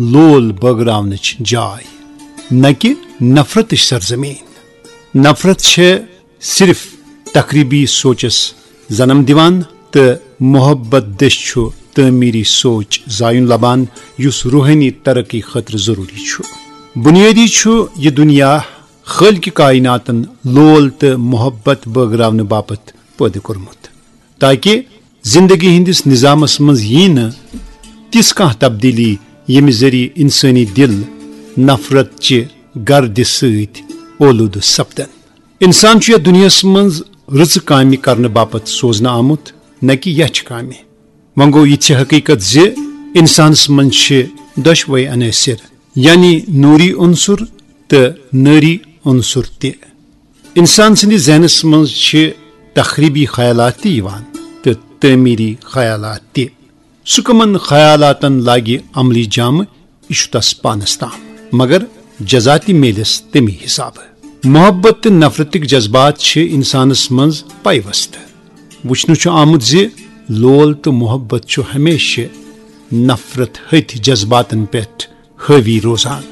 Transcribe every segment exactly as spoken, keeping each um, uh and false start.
لول بٲگراونٕچ جاے، نہ کہ نفرتٕچ سرزمین۔ نفرت چھےٚ صرف تخریبی سوچس جنم دِوان، تہٕ محبت دٔسۍ چھُ تعمیری سوچ زایُن لبان، یُس روحٲنی ترقی خٲطرٕ ضروری چھُ۔ بنیٲدی چھُ یہِ دنیا خالق کائناتن لول تہٕ محبت بٲگراونہٕ باپتھ پٲدٕ کوٚرمُت، تاکہ زندگی ہٕنٛدِس نظامس منٛز ییہِ نہٕ تِژھ کانٛہہ تبدیلی، ییٚمہِ ذٔریعہٕ انسٲنی دِل نفرت چہِ گردِ سۭتۍ اولوٗدٕ سپدن۔ انسان چھُ یتھ دُنیاہس منٛز رٕژٕ کامہِ کرنہٕ باپتھ سوزنہٕ آمُت، نہ کہ یچھِ کامہِ۔ وۄنۍ گوٚو، یہِ چھِ حقیقت زِ انسانس منٛز چھِ دۄشوے عناصر، یعنی نوری عنصر تہٕ نٲری عنصر تہِ۔ انسان سٕنٛدِ ذہنس منٛز چھِ تخریبی خیالات تہِ یِوان تہٕ تعمیری خیالات تہِ۔ سُہ کمن خیالاتن لاگہِ عملی جامہٕ، یہِ چھُ تس پانس تام، مگر جزا تہِ میلٮ۪س تمی حسابہٕ۔ محبت تہٕ نفرتٕکۍ جذبات چھِ انسانس منٛز پیوستہٕ۔ وُچھنہٕ چھُ آمُت زِ لول تہٕ محبت چھُ ہمیشہِ نفرت ہٕتھۍ جذباتن پٮ۪ٹھ حٲوی روزان۔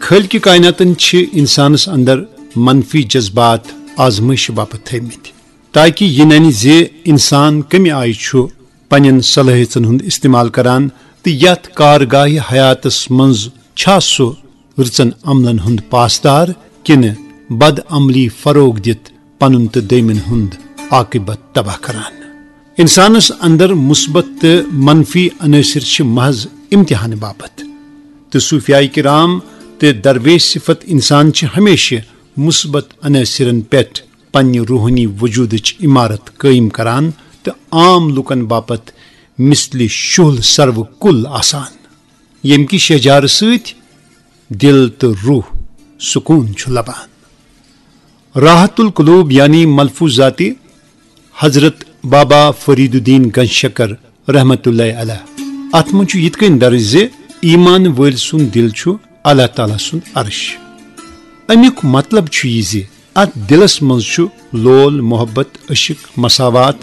خالق کائناتن چھِ انسانس اندر منفی جذبات آزمٲیشہِ باپتھ تھٲومٕتۍ، تاکہ یہِ ننہِ زِ انسان کمہِ آیہِ چھُ پننٮ۪ن صلٲحیژن ہُنٛد استعمال کران تہٕ یتھ کارگاہہِ حیاتس منٛز چھا سُہ رٕژن عملن ہُنٛد پاسدار، کِنہٕ بد عملی فروغ دِتھ پنُن تہٕ دوٚیمٮ۪ن ہُنٛد عاقبت تباہ کران۔ انسانس اندر مثبت تہٕ منفی عناصر چھِ محض امتحان باپتھ، تہٕ صوفیاء کرام تہٕ درویش صفت انسان چھِ ہمیشہِ مثبت عناصرن پٮ۪ٹھ پننہِ روحٲنی وجودٕچ عمارت قٲیِم کران تہٕ عام لوٗکن باپتھ مثلِ شُہل سرو کُل آسان، ییٚمہِ کہِ شیہجارٕ سۭتۍ دل تہٕ روح سکون چھُ لبان۔ راحت القلوب یعنی ملفوظات حضرت بابا فرید الدین گنج شکر رحمت اللہ علیہ۔ اتھ منٛز چھُ یِتھ کٔنۍ درج زِ ایمان وٲلۍ سُنٛد دل چھُ اللہ تعالیٰ سُنٛد عرش۔ امیُک مطلب چھُ یہِ زِ اتھ دلس منٛز چھُ لول، محبت، عشق، مساوات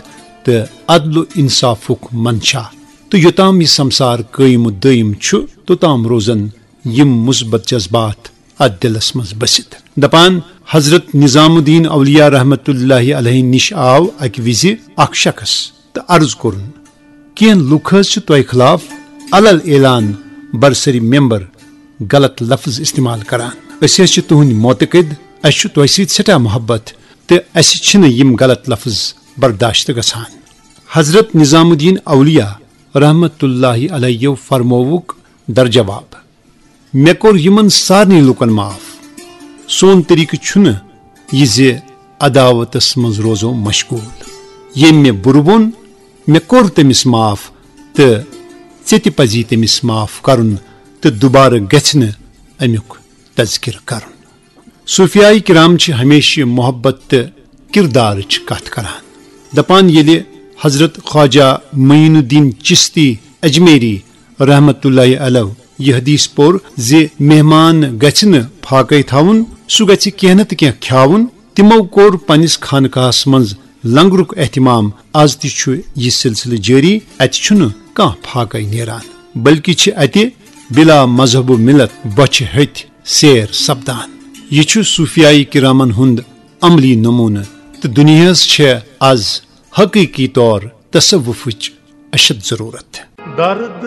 تہٕ عدل و انصافُک منشا، تہٕ یوٚتام یہِ سمسار قٲیِم و دٲیِم چھُ، توٚتام روزن یِم مثبت جذبات اتھ دلس منٛز بٔسِتھ۔ دپان، حضرت نظام الدین اولیاء رحمت اللہ علیہ نِش آو اکہِ وِزِ اکھ شخص تہٕ عرض کوٚرُن، کینٛہہ لُکھ حض چھِ تۄہہِ خلاف علل اعلان برسری ممبر غلط لفظ استعمال کران۔ أسۍ حض چھِ تُہنٛدۍ معتقد، اسہِ چھُ تۄہہِ سۭتۍ سٮ۪ٹھاہ محبت تہٕ اسہِ چھِنہٕ یِم غلط لفظ برداشت گژھان۔ حضرت نظام الدین اولیاء رحمت اللہ علیہ فرمووُکھ در جواب، مےٚ کوٚر یِمن سارنٕے لوٗکن معاف۔ سون طریقہٕ چھُنہٕ یہِ زِ عداوتس منٛز روزو مشغول۔ ییٚمۍ مےٚ بُرٕ ووٚن، مےٚ کوٚر تٔمِس معاف تہٕ ژےٚ تہِ پزی تٔمِس معاف کرُن تہٕ دُبارٕ گژھِ نہٕ امیُک تذکرٕ کرُن۔ صوفیاء کرام چھِ ہمیشہِ محبت تہٕ کردارٕچ کتھ کران۔ دپان، ییٚلہِ حضرت خواجہ معین الدین چشتی اجمیری رحمت اللہ علیہ یہِ حدیث پوٚر زِ مہمان گژھِ نہٕ فاقے تھاوُن، سُہ گژھِ کینٛہہ نتہٕ کینٛہہ کھیاوُن، تِمو کوٚر پننِس خانقاہس منٛز لنگرُک اہتمام۔ از تہِ چھُ یہِ سلسلہٕ جٲری، اتہِ چھُنہٕ کانٛہہ فاقے نیران، بلکہِ چھِ اتہِ بلا مذہب و ملت بۄچھِ ہتھۍ سیر سپدان۔ یہِ چھُ صوفیاء کرامن ہُنٛد عملی نمونہٕ، تہٕ دُنیاہس چھےٚ از حقیقی طور تصوفٕچ اشد ضرورت۔ درد